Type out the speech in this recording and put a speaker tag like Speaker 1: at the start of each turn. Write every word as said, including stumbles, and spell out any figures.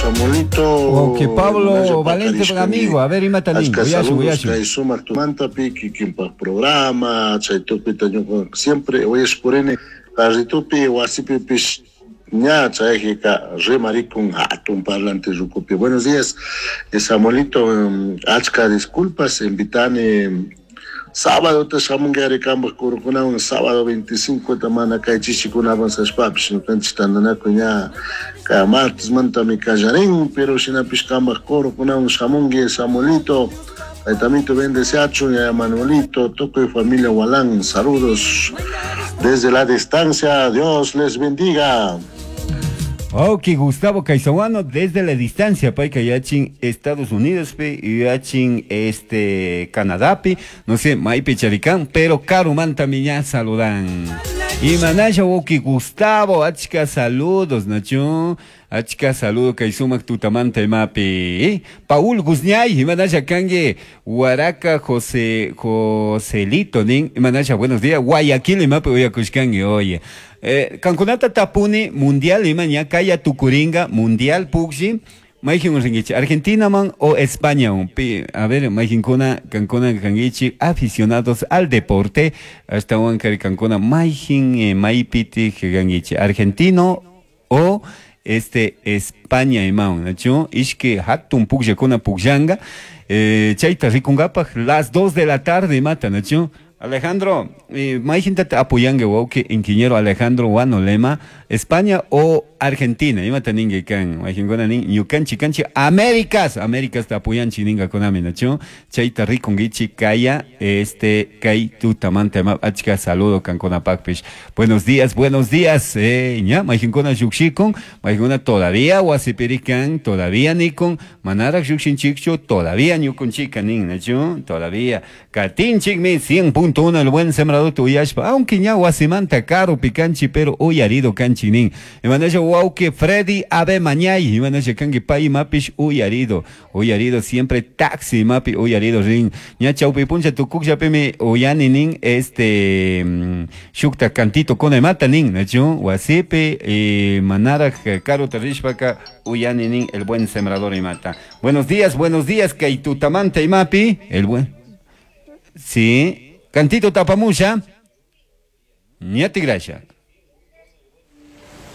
Speaker 1: Samuelito.
Speaker 2: Ok, Pablo Valente, buen amigo. A ver, imata nin.
Speaker 1: Achka
Speaker 2: Uyashun,
Speaker 1: saludos
Speaker 2: uyashun.
Speaker 1: kay sumaq tumantapi kikinpaq programa chay tukuyta ñuqa siempre uyashpurini carritupi wasipipish ña chayjika rimarikun hatun parlante rukupi. Buenos días, eh, Samuelito, mm, achka disculpas, invitani sábado ta shamunki kanpaq kurukunawan sábado veinticinco ta mana kay chishikunawan sashpapish ñukanchik tantanakuy ña ka martesmantami kallarin, pero shinapish kanpaq kurukunawan shamunki, Samuelito. Taytamito bendeciachun, ya Manuelito, tukuy familia Walán, saludos desde la distancia, Dios les bendiga.
Speaker 2: Ok, Gustavo Caizahuano, desde la distancia, payka yachin Estados Unidos, pi, yachin este, Canadá, pi, no sé, maypi charikan, pero karumanta ña saludan. Y manasha wawki Gustavo, achka saludos, nachu, achka saludo kay sumak tutamanta imapi. Paul Guzñay, imanasha kanki, Huaraca José, Joselito, nin, imanasha, buenos días, Guayaquil imapi uyakushkanki, oye. Eh, kankunata tapuni mundial ima ña kaya tukuringa mundial pugshi mayjin ringichi Argentina man o España un pi a ver mayjinkuna kankuna kangichi aficionados al deporte hasta wankari kankuna mayjin eh, maypiti kangichi argentino o este España imawan nachu ishki hatun pugllakuna pugllanga eh, chayta rikunkapaj las dos de la tarde imata nachu. Alejandro, eh, mayjintata apoyanki wawki ingeniero Alejandro Wano Lema, España o Argentina, imata ninki kan, mayjinkuna nin, ñukanchik kanchik Américas, Américas ta apoyanchik ninkakunami, nachu, chayta rikunkichik kaya, este, kay tutamanta ima, achka saludo kankunapakpish. Buenos días, buenos días, eh, ña, mayjinkuna llukshikun, mayjinkuna todavía wasipirikan, todavía nikun, manarak llukshinchikchu, todavía ñukunchika nin, nachu, todavía, katinchikmi cien punto uno el buen sembrador tuyashpa, aunque ña wasimanta karupi kanchi, pero uyarido kanchi nin. Imanasha wawki Freddy Abe Mañay, imanasha kanki pay mapish uyarido, uyarido siempre taxi mapi uyarido rin. Ña chawpi puncha tukukllapimi uyani nin, este, mm, shukta cantito con mata nin, nachu, wasipi, eh, manarak karuta rishpaka uyani nin el buen sembrador imata. Buenos días, buenos días, kay tutamanta imapi, el buen. Sí, cantito tapamusha. Ñati gracia.